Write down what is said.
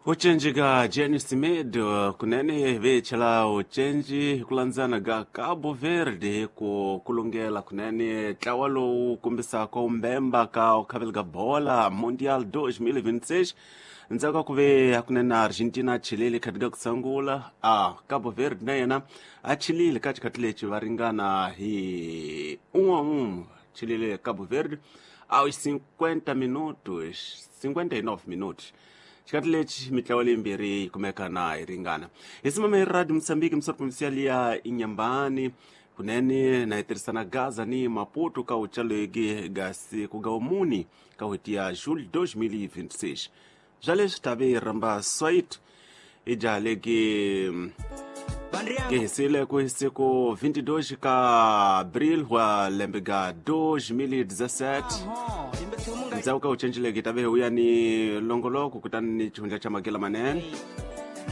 Ucenji ka Jenny Semedo kunene vechela ucenji hi ku landzana ka Cabo Verde ku kulungela kunene ntlawa lowu kombisaka umbemba ka ukhaveli ka bola Mundial 2026 ndzhaku ka ku ve hakunene Argentina a chilile khati ka ku sungula a Cabo Verde na yena a chilile ka xikhathi lexi va ringana hi un'we un'we chilile Cabo Verde aos 50 minutos 59 minutos. Xikhathi lexi mitlawa leyimbirhi yi kumeka na yi ringana hi simama hi Radio Mosambiki misoro provincial ya Inyambani kunene na yi tirhisana Gaza ni Maputo ka uchaleki ga siku ga umuni ka n'hweti ya Julho 2026. Bya leswi tave ramba swait i jaha leki ke hisile ku siku 22 ka Abril wa lembe ga 2017. Ndzhaku ka ucencileke tave uya ni longoloko kutani ni xihundla xa magela manene.